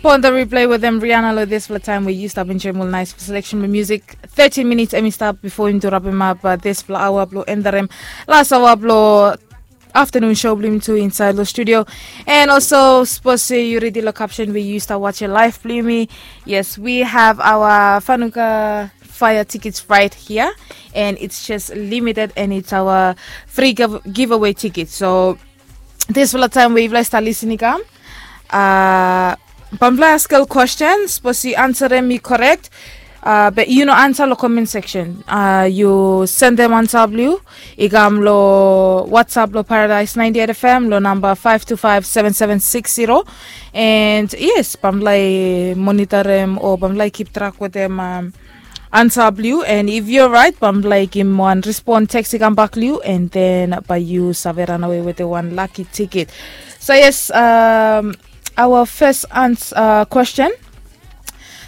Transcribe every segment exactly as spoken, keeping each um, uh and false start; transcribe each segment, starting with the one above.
Pon the replay wetem Rihanna lo dispela taem we yu stap enjoim ol nais selection blong music. Thirteen minutes em i stap before yumi tu rapim ap dispela aoa blong endarim las aoa blong afternoon show blong yumi tu inside lo studio. And also, suppose yu ready lo caption we yu stap watch live blong yumi. Yes, we have our Fanuka Fire tickets right here, and it's just limited, and it's our free give giveaway ticket. So dispela taem we yufala i stap lisin i kam, uh, bamfala i askel question, suppose yu ansarem i korek. Uh, be yu no ansa lo comment section, uh, yu sendem ansa blong yu i kam lo WhatsApp lo Paradise ninety-eight F M lo namba five two five seven seven six zero. And yes, bamfala i monitorem o bamfala i kip track wetem um, ansa blong yu, and if yu right bamfala i givim wan respon teks i kam bak long yu, and then bae yu save ranawe wetem wan lucky ticket. So yes, um, our first ans uh, question.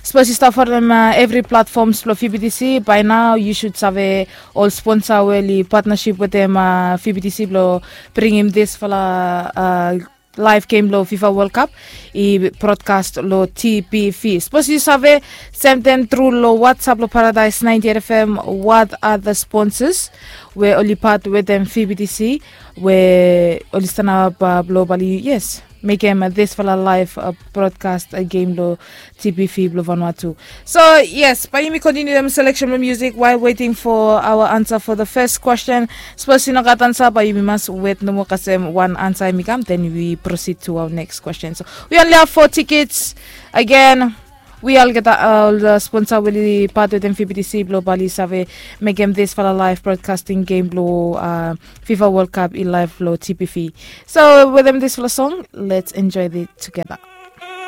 Suppose yu stap folem uh, evri platforms blong V B T C, by now yu should save ol sponsor we oli partnership wetem uh, V B T C blong bringim disfala uh, live game lo FIFA World Cup i broadcast lo T B V. Suppose yu save, send them through lo WhatsApp lo Paradise ninety-eight F M. What are the sponsors we oli part wetem V B T C we oli stanap uh, blo bali, yes, mekem uh, disfala live uh, broadcast uh, game lo T B V blo Vanuatu. So yes, bae yumi continue dem selection blo music while waiting for our answer for the first question. Suppose yu no gat ansa, bae yumi mas wet nomo kasem wan ansa em i kam, then we proceed to our next question. So we only have four tickets. Again, we all get all the sponsor we oli part wetem V B T C blo bali save mekem disfala live broadcasting game blo uh, FIFA World Cup i live lo T B V. So wetem disfala song, let's enjoy it together.